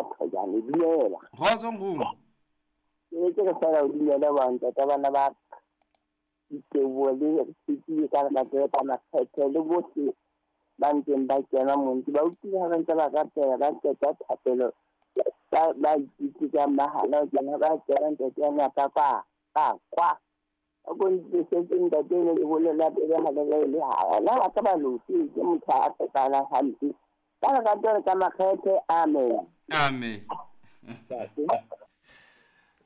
ka Thojane. Dumela. Kgotso nkgono. Ke ke re fela o dumele ba ntate bana ba diteboho le re ka lerato ka makgethe le bohle ba ntseng ba kena monte ba utlwile ha ba ntse ba rapela ba qeta thapelo ba itse ka mahala o kena ba kena ntate ya ka kwa ka kwa a ko ntse setse ntate le le bolela pele ha le le ha la ba ka ba losi ke motho a tsepala hampe ka lerato ka makgethe. Amen. Amen.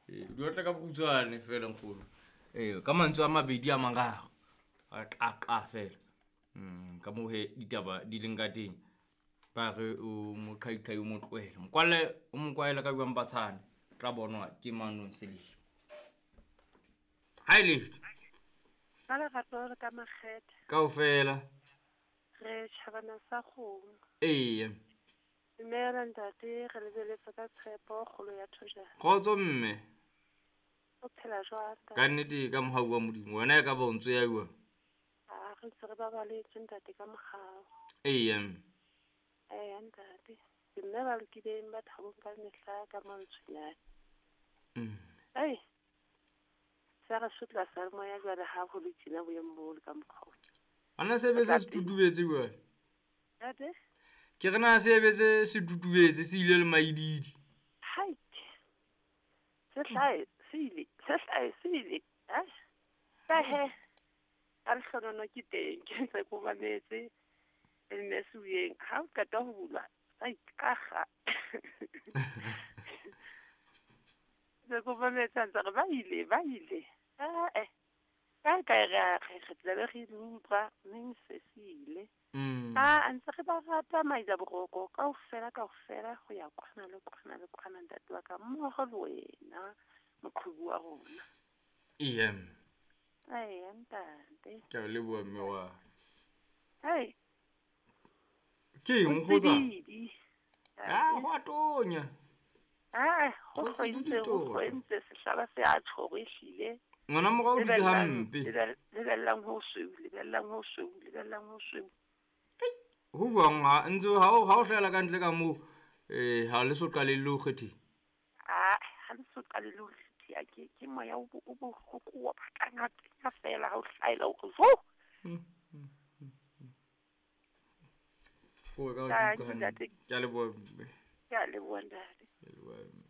Di otla ka bokhutshwane fela nkgono. Ka mantswe a mabedi a mararo a qaqa fela. Ka moo he ditaba di leng ka teng. Ba re o moqhaiqhai o mo tlohele. Mokwalle o mo kwaela ka jwang patshane. Tla bonwa ke manong selemo. Ha ile. Ka lerato le ka makgethe. Kaofela. Re tjhabana sa kgomo. Ee. Dumela ntate, re lebeletse ka tshepo kgolo ya Thojane. Kgotso mme. O phela jwang? Ka nnete ka mohau wa Modimo. Wena e ka ba o ntso ya jwang? A re ntse re babaletse ntate ka mohau. Ee. Ee ntate. Ke mme ba lokileng ba thabong ka mehla ka mantswenyane. Ei. Sa re sutla sa moya jwale ha ho le tjena boemo bo le ka mokgwa. Ana se be se tutubetse jwale. Ntate? Ke re na se be se se tutubetse se ile le maididi. Hai. Se hlae se ile, se hlae se ile. Ai. Ka he. A re hlonono ke teng, ke ntse ko mametse. Mme se ha o qeta ho bulwa, sa ikaga. Se ko mametse ntse re ba ile, ba ile. Ah eh. Ka ka re re tla be re utlwa mme se se ile. A ntse re ba rata maida boroko kaofela kaofela ho ya kwana le kwana le kwana ntate wa ka mmoho le wena moqhubu wa rona. Ee. Ai ntate. Ke a leboha mme wa. Hai. Ke eng kgotsa? Ah, ho a tonya. Ah, ho ntse sehlaba se a tshoro ehlile. Ngwana morao o dutse hampe. Lebellang ho sweu, lebellang ho sweu, lebellang ho sweu. Ho buang ha ntse ha o hlahela ka ntle ka moo ha le so qale le ho kgethe. Ah, ha le so qale le ho kgethe ke moya o bohloko wa batlang a fela ha o hlahela o zo. Ko ka o ke a leboha mme. Ke a leboha ntate. Ke a leboha mme.